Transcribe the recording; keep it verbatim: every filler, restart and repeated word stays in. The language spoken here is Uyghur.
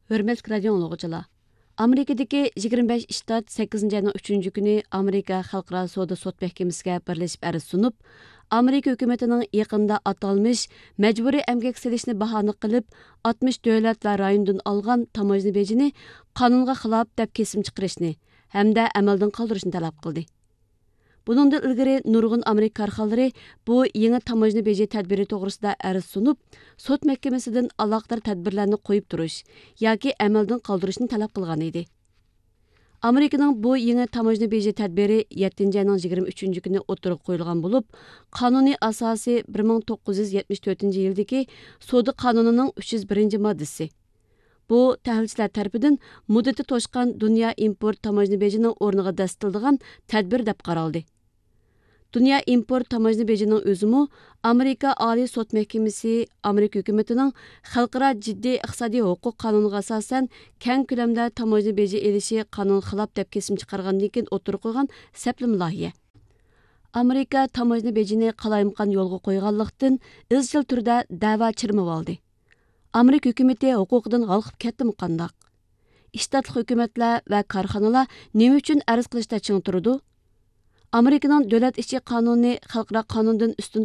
ھۆرمەتلىك رادىيو ئاڭلىغۇچىلار! ئامېرىكىدىكى يىگىرمە بەش شتات سەككىزىنچى ئاينىڭ ئۈچىنچى كۈنى ئامېرىكا خەلقئارا سودا سوت مەھكىمىسىگە بىرلىشىپ ئەرز سۇنۇپ، ئامېرىكا ھۆكۈمىتىنىڭ يېقىندا ئاتالمىش مەجبۇرىي ئەمگەك سېلىشنى باھانە قىلىپ، ئاتمىش دۆلەت ۋە رايوندىن ئالغان تاموژنا بېجىنى قانۇنغا خىلاپ دەپ كېسىم چىقىرىشنى ھەمدە ئەمەلدىن قالدۇرۇشنى تەلەپ قىلدى. بۇنىڭدىن ئىلگىرى نۇرغۇن ئامېرىكا كارخانىلىرى بۇ يېڭى تاموژنا بېجى تەدبىرى توغرىسىدا ئەرز سۇنۇپ، سوت مەھكىمىسىدىن ئالاقىدار تەدبىرلەرنى قويۇپ تۇرۇش ياكى ئەمەلدىن قالدۇرۇشنى تەلەپ قىلغان ئىدى. ئامېرىكىنىڭ بۇ يېڭى تاموژنا بېجى تەدبىرى يەتتىنچى ئاينىڭ يىگىرمە ئۈچىنچى كۈنى ئوتتۇرىغا قويۇلغان بولۇپ، قانۇنىي ئاساسى بىر مىڭ توققۇز يۈز يەتمىش تۆتىنچى يىلدىكى سودا قانۇنىنىڭ ئۈچ يۈز بىرىنچى ماددىسى. بۇ تەھلىلچىلەر تەرىپىدىن مۇددىتى توشقان دۇنيا ئىمپورت تاموژنا بېجىنىڭ ئورنىغا دەسسىتىلىدىغان تەدبىر دەپ قارالدى. دۇنيا ئىمپورت تاموژنا بېجىنىڭ ئۆزىمۇ ئامېرىكا ئالىي سوت مەھكىمىسى ئامېرىكا ھۆكۈمىتىنىڭ خەلقئارا جىددىي ئىقتىسادىي ھوقۇق قانۇنىغا ئاساسەن كەڭ كۆلەمدە تاموژنا بېجى ئېلىشى قانۇنغا خىلاپ دەپ كېسىم چىقارغاندىن كېيىن ئوتتۇرىغا قويغان سەپلىمە لايىھە. ئامېرىكا تاموژنا بېجىنى قالايمىقان يولغا قويغانلىقتىن، ئىزچىل تۈردە دەۋا چىرمىۋالدى. ئامېرىكا ھۆكۈمىتى ھوقۇقىدىن ھالقىپ كەتتىمۇ قانداق؟ ئىشتاتلىق ھۆكۈمەتلەر ۋە كارخانىلار نېمە ئۈچۈن ئەرز قىلىشتا چىڭ تۇرىدۇ؟ ئامېرىكىنىڭ دۆلەت ئىچى قانۇنى خەلقئارا قانۇندىن ئۈستۈن